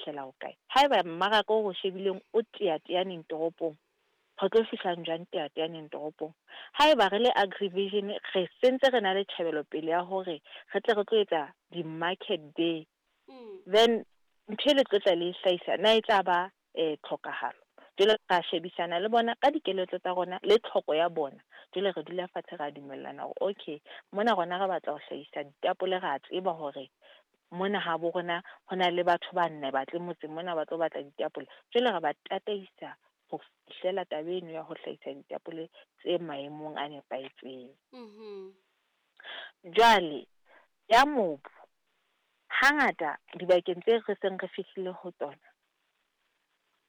fihlela hokae. Haeba mmaraka o re shebileng o teateaneng toropong, re tlo fihlang jwang teateaneng toropong? Haeba re le Agrivision re sentse re na le tjhebelopele ya hore re tle re tlo etsa di-market day, then ntho e le tlo tla le e hlahisa na e tla ba tlhokahalo. Jwale ra shebisana le bona ka dikeletso tsa rona le tlhoko ya bona. Jwale re dula fatshe ra dumellana hore okay, mona rona re batla ho hlahisa ditapole, ra tseba hore mona ha bo rona ho na le batho ba nne batle motseng mona ba tlo batla ditapole. Jwale re ba tataisa ho fihlela taba eno ya ho hlahisa ditapole tse maemong a nepahetseng. Jwale ya mobu, hangata dibakeng tse re seng re fihlile ho tsona,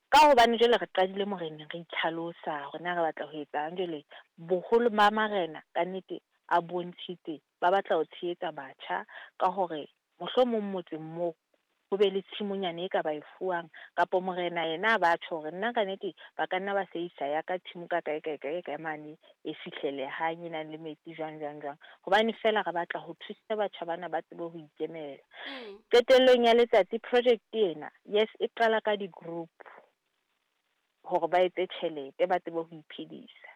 ka hobane jwale re qadile moreneng re itlhalosa hore na re batla ho etsang, jwale boholo ba marena kannete a bontshitse ba batla ho tshehetsa batjha ka hore mohlomong motseng moo ho be le tshimonyana e ka ba e fuwang, kapa morena yena a batjho hore nna kannete ba ka nna ba sebedisa ya ka tshimo ka kae kae kae kae mane e fihlelehang, e nang le metsi jwang jwang jwang, hobane feela re batla ho thusa batjha bana ba tsebe ho ikemela. Qetellong ya letsatsi project ena, yes, e qala ka di-group hore ba etse tjhelete, ba tsebe ho iphedisa.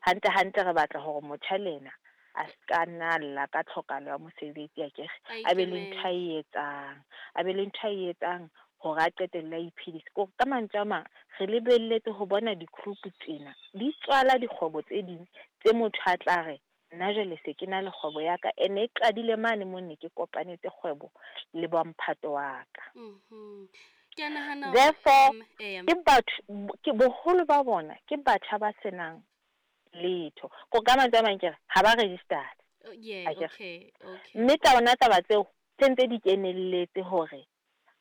Hantle hantle re batla hore motjha le yena a ska nna lla ka tlhokahalo ya mosebetsi, akere A a be le ntho a ikemele. e etsang, a be le ntho a e etsang hore a qetelle a iphedisa. Kore ka mantswe a mang, re lebelletse ho bona di-group tsena di tswala dikgwebo tse ding tse motho a tla re nna jwale se ke na le kgwebo ya ka, ene e qadile mane mo ne ke kopanetse kgwebo le ba mphato wa ka. Ke a nahana hore Therefore, eya. ke batho, ke boholo ba bona ke batjha ba senang letho. Ko ka mantswe a mang ke re ha ba registered. Oh, yeah, Akere. okay, okay. Mme tsona taba tseo se ntse di kenelletse hore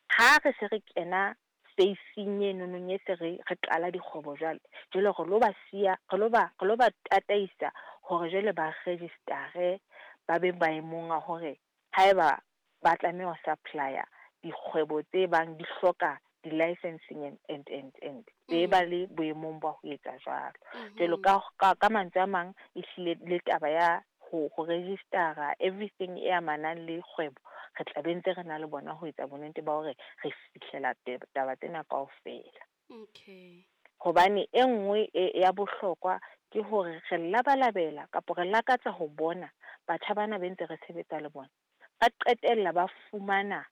ha re se re kena phasing eno nong e se re qala dikgwebo jwale, jwale re lo ba siya, re lo ba tataisa hore jwale ba register-e, ba be maemong a hore haeba ba tlameha ho supply-a dikgwebo tse bang di hloka di-licensing and be ba le boemong ba ho etsa jwalo. Jwalo ka mantswe a mang, ehlile le taba ya ho register-a everything e amanang le kgwebo, re tla be ntse re na le bona ho etsa bonnete ba hore re fihlela taba tsena kaofela. Okay. Hobane e nngwe ya bohlokwa ke hore re labalabela kapa re lakatsa ho bona batjha bana be ntse re sebetsa le bona ba qetella ba fumana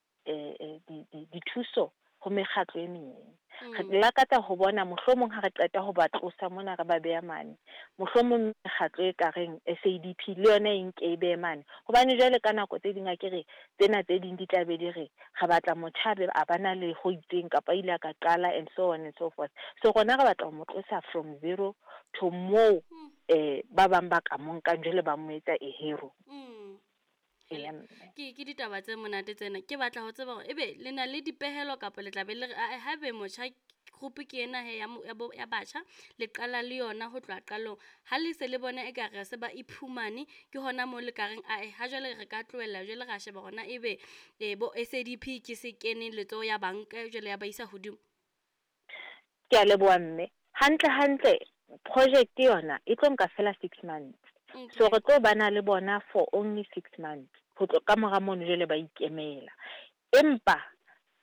dithuso ho mekgatlo e meng. Re lakatsa ho bona mohlomong ha re qeta ho ba tlosa mona re ba beha mane, mohlomong mekgatlo e ka reng SADP le yona e nke e behe mane, hobane jwale ka nako tse ding akere tsena tse ding di tla be di re re batla motjha a ba na le ho itseng kapa ile a ka qala and so on and so forth. So rona re batla ho mo tlosa from zero to moo ba bang ba ka mo nkang jwale ba mo etsa a hero. Eya, mme. Ke ditaba tse monate tsena. Ke batla ho tseba hore ebe le na le dipehelo kapa le tla be le re, ae, haebe motjha group ke ena he ya batjha, le qala le yona ho tloha qalong. Ha le se le bona ekare se ba iphumane, ke hona moo le ka reng, ae, ha jwale re ka tlohella jwale ra sheba hore na ebe bo SADP ke se keneng letsoho ya banka jwale ya ba isa hodimo. Ke a leboha mme. Hantle hantle project yona e tlo nka fela 6 months. So re tlo bana le bona for only 6 months. Ho tlo ka mora mono jwale ba ikemela. Empa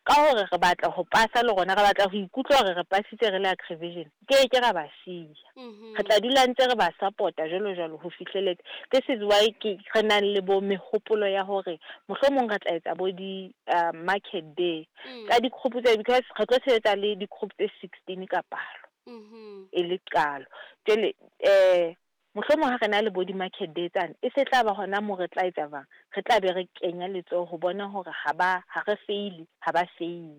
ka hore re batla ho pasa le rona, re batla ho ikutlwa hore re pasitse re le Agrivision, ke ra ba siya. Re tla dula ntse re ba support-a jwalo jwalo ho fihleletse. This is why ke re nang le bo mehopolo ya hore mohlomong re tla etsa bo di market day tsa di-group tse, because re tlo sebetsa le di-group tse 16 ka palo. E le qalo. Jwale mohlomong ha re na le bo di-market day tsane, e se tla ba hona moo re tla etsa jwang, re tla be re kenya letsoho ho bona hore ha re faile, ha ba faile.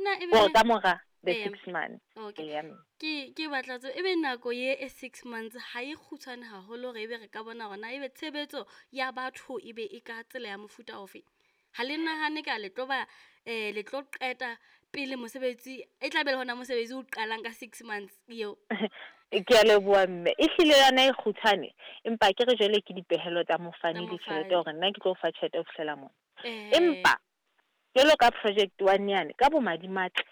Na ebe Hore ka mora the Eya. 6 months. Okay. Eya, mme. Ke batla tsebo, ebe nako ye e 6 months ha e kgutshwane haholo hore ebe re ka bona hore na ebe tshebetso ya batho ebe e ka tsela ya mofuta ofe? Ha le nahane ka le tlo ba, le tlo qeta pele mosebetsi, e tla be le hona mosebetsi o qalang ka 6 months eo. Ke a leboha mme. Ehlile yona e kgutshwane, empa ke re jwale ke dipehelo tsa mofani Tsa le tjhelete mofani. hore nna ke tlo fa tjhelete ho fihlela mona. Empa jwalo ka project 1 yane, ka bomadimatle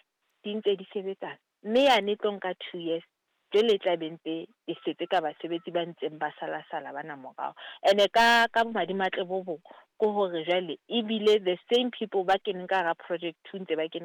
di ntse di sebetsana, mme yane e tlo nka 2 years, jwale e tla be ntse e setse ka basebetsi ba ntseng ba sala-sala bana morao. Ene ka bomadimatle bo bong ke hore jwale ebile the same people ba keneng ka hara project 2 ntse ba kene